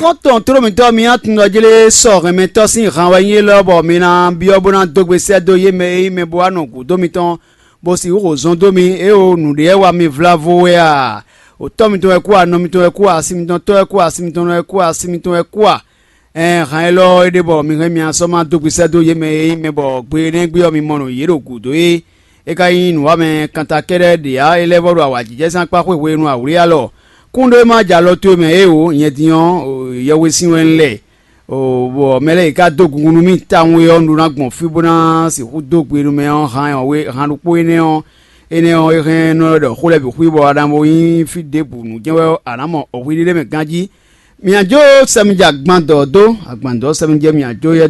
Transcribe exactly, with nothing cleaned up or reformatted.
Xɔ́ntɔn tlóló mǐtɔn mi atundɔjlé sɔ hɛnmɛtɔ́ sín han wɛ nyí élɔ́ bɔ mi ná byɔ́ bó ná dó gbe sɛ́ dó yé mɛ e nyí mɛ bo wá nɔ gǔdo mitɔn, bó sixú xo zɔn dó mi. Éeǒ, nǔɖé wɛ wá mi vlávo wɛ a? Otɔ́ mitɔn wɛ kú a? Nɔ mitɔn wɛ kú a? Asi mitɔn tɔ́ wɛ kú a? Asi mitɔn nɔ wɛ kú a? Asi mitɔn wɛ kú a? Ɛɛn, han élɔ́ é ɖe bɔ mi hɛn mia sɔ́ ma dó gbe sɛ́ dó yě mɛ e nyí mɛ bɔ gbe énɛ́ gbe ɔ́ mi mɔ nǔ yě ɖo gǔdo é. É ka nyí nǔwamɛ kanta kɛ́ɖɛ́ ɖě ǎ, é lɛ́ vɔ́ ɖo awǎjijɛ sín akpá xwé hwenu awlí alɔ. Kúnɖó e ma jɛ alɔ towe mɛ é o, nyɛ din ɔ́, yɛhwesin wɛ un lɛ, bɔ mɛ lɛ́ɛ e ka dó gungun nú mì tawun é ɔ́, un ɖó ná gbɔn fí bó ná sixú dó gbe nú mɛ ɔ́. Han ɔ́, han ɖokpó énɛ́ ɔ́, énɛ́ ɔ́, é hɛn nɔ ɖɔ xó lɛ́ɛ bǐ xwí bɔ a nǎ bo nyí fí ɖěbǔ nú jɛ́n wɛ a nǎ mɔ hwi ɖé mɛ ganjí. Mǐ jó sɛmija gbandɔ dó agbǎndɔ sɛmijɛ mǐ jó yɛ dó